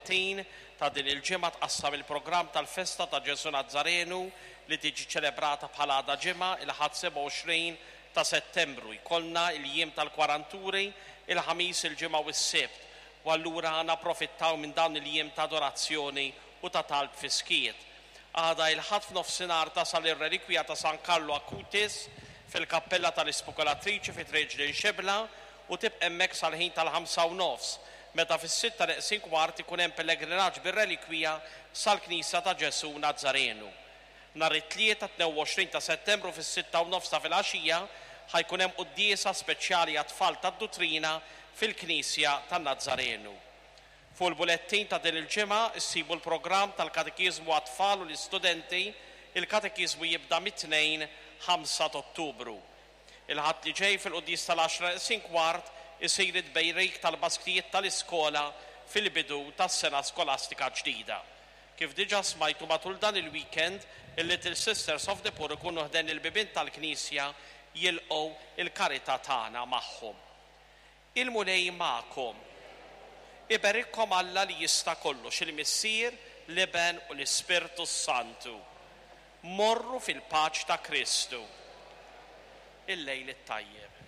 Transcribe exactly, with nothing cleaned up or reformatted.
Tin ta' din il-ġimgħa tqassam il-programm tal-festa ta' Ġesù Nazzarenu li tiġi ċelebrata bħala għada ġimgħa, il-Ħadd sebgħa u għoxrin ta' Settembru. Jkollna il-jiem tal-Kwaranturi, il-Ħamis, il-Ġimgħa u s-Sibt. U allura napprofittaw minn dawn il-jiem ta' adorazzjoni u ta' talb fis-skiet. Għada il-Ħadd f'nofsinhar tasal ir-relikwija ta' San Carlo Acutis fil-kappella tal-Ispokolatriċi fi Triq Xebla u tibqa' hemmhekk sal-ħin tal-ħamsa u nofs, meta fis-sitta neqsin kwart ikun hemm pellegrinaġġ bir-relikwija sal-Knisja ta' Ġesù Nazzarenu. Nhar it-Tlieta tnejn u għoxrin ta' Settembru fis-sitta u nofs ta' filgħaxija ħa jkun hemm quddiesa speċjali għat-tfal tad-Duttrina fil-Knisja tan-Nazzarenu. Fuq il-bulettin ta' din il-ġimgħa issibu l-programm tal-Katekiżmu għat-tfal u l-istudenti. Il-katekiżmu jibda mit-Tnejn ħamsa ta' Ottubru. Il-Ħadd li ġej fil-quddies tal-għaxra neqsin kwart isir it-tberik tal-basktijiet tal-iskola fil-bidu tas-sena skolastika ġdida. Kif diġà smajtu, matul dan il-weekend il-Little Sisters of the Poor ikunu ħdejn il-bibien tal-Knisja jilqgħu il-karità tagħna magħhom. Il-Mulej magħkom. Iberikkom Alla li jista' kollox, il-Missier, l-Iben u l-Ispirtu Santu. Morru fil-paċi ta' Kristu. Il-lejl it-tajjeb.